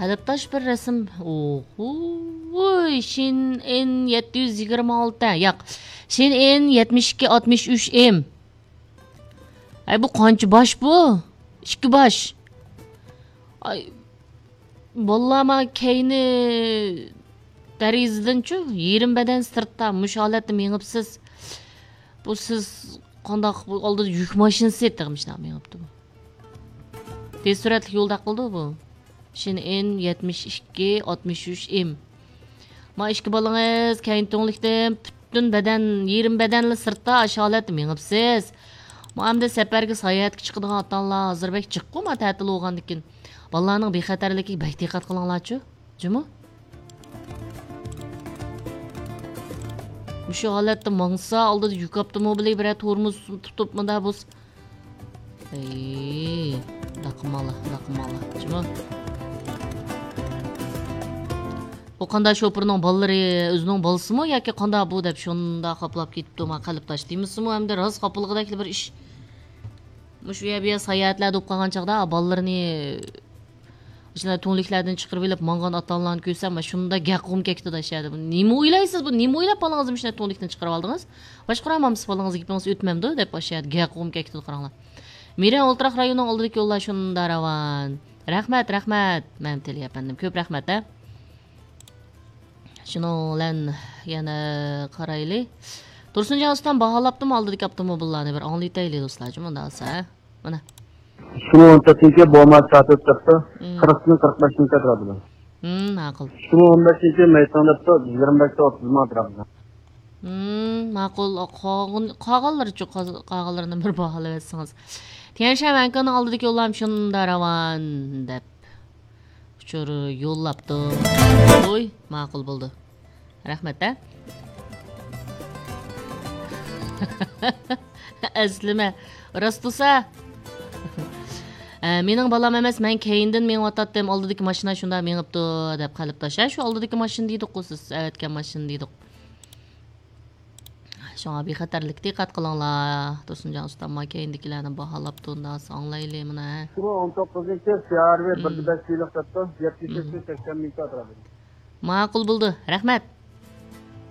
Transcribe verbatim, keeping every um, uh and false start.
قەلبتاش بىر رەسىم. ئوھوي، شىن ئېن يەتتە يۈز يىگىرمە ئالتە. ياق. شىن ئېن يەتمىش ئىككى ئاتمىش ئۈچ ئېم. ئەي، بۇ قانچە باش بۇ؟ ئىككى باش. ئاي، باللا، ما كەينى دېرىزىدىنچۇ، يېرىم بەدەن سىرتتا، مۇشۇ ھالەتتە مېڭىپسىز. بۇ سىز قانداق، بۇ ئالدىدا يۈك ماشىنىسى تېخى مۇشۇنداق مېڭىپتۇ بۇ. تېز سۈرئەتلىك يولدا قىلدى بۇ. شىن ئېن يەتمىش ئىككى ئاتمىش ئۈچ ئېم. ما ئىككى بالىڭىز كەينى تۈڭلۈكتىن پۈتۈن بەدەن، يېرىم بەدەنلا سىرتتا ئاشۇ ھالەتتە مېڭىپسىز. ما ئەمدى سەپەرگە ساياھەتكە چىقىدىغان ئاتا-ئانىلار ھازىر بەك جىققۇ، ما تەتىل بولغاندىكىن. بالىلارنىڭ بىخەتەرلىكىگە بەك دىققەت قىلىڭلارچۇ. جۇمۇ؟ مۇشۇ ھالەتتە ماڭسا، ئالدىدا يۈك ئاپتوموبىلى بىرەر تورمۇز تۇتۇپ مۇندا بولسا. ئەي، لەقمالا، لەقمالا. جۇمۇ؟ بۇ قانداق شوپۇرنىڭ بالىلىرى، ئۆزىنىڭ بالىسىمۇ ياكى قانداق بۇ دەپ شۇنداق خاپىلاپ كېتىپتۇ، ما قەلبتاش دېمىسىمۇ، ئەمدى راست خاپىلىقىدەكلا بىر ئىش. مۇشۇ يەر بۇ يەر ساياھەتلەردە بولۇپ قالغان چاغدا بالىلىرىنى شۇنداق تۈڭلۈكلەردىن چىقىرىپ ئېلىپ ماڭغان ئاتا-ئانىلارنى كۆرسەم، مانا شۇنداق گەققۇم كەكتۇ دەشەدە. نېمە ئويلايسىز بۇ؟ نېمە ئويلاپ بالىڭىزنى مۇشۇنداق تۈڭلۈكتىن چىقىرىپ ئالدىڭىز؟ باشقۇرامامسىز بالىڭىزنى، گېپىڭىز ئۆتمەمدۇ دەپ ئاشۇ يەردە گەققۇم كەكتىدە قاراڭلار. مىرەن ئولتۇراق رايونىنىڭ ئالدىدىكى يوللار شۇنداق راۋان. رەھمەت، رەھمەت. مەمتىلى ئەپەندىم، كۆپ رەھمەت ھە. شۇنىڭ بىلەن يەنە قارايلى. تۇرسۇنجان ئۇستام باھالاپتىمۇ ئالدىدىكى ئاپتوموبىللارنى؟ بىر ئاڭلىتەيلى دوستلار، مۇنداق بولسا ھە. مانا. ئىككى مىڭ ئون تۆتىنچى بوما چاتىپ دەپتۇ. مم. قىرىقتىن قىرىق بەشنىڭ ئەتراپىدا. مم، ماقۇل. ئىككى مىڭ ئون بەشىنچى مەيساڭ دەپتۇ. يىگىرمە بەشتە ئوتتۇز مىڭ ئەتراپىدا. مم، ماقۇل. قالغان-، قالغانلىرىچۇ، قاز-، قالغانلىرىنى بىر باھالاۋەتسىڭىز. تيەنشەن ۋەنكىنىڭ ئالدىدىكى يوللام شۇنداق راۋان دەپ ئۇچۇر يوللاپتۇ. ئوي، ماقۇل بولدى. رەھمەت ھە. ئەسلىمە. راست تۇرسا. ئە، مېنىڭ بالام ئەمەس، مەن كەينىدىن مېڭىۋاتاتتىم، ئالدىدىكى ماشىنا شۇنداق مېڭىپتۇ، دەپ قەلبتاش. ھە، شۇ ئالدىدىكى ماشىنا دېدۇققۇ سىز، ئەۋەتكەن ماشىنا دېدۇق. شۇڭا بىخەتەرلىككە دىققەت قىلىڭلار. تۇرسۇنجان ئۇستام ما كەينىدىكىلەرنى باھالاپتۇ، ئۇنداق ئاڭلايلى مانا. ئىككى مىڭ ئون توققۇزىنچى فېئارۋېي بىر دە بەش يىللىق دەپتۇ. يەتتە يۈز سەكسەن مىڭ ئەتراپىدا. ماقۇل بولدى. رەھمەت.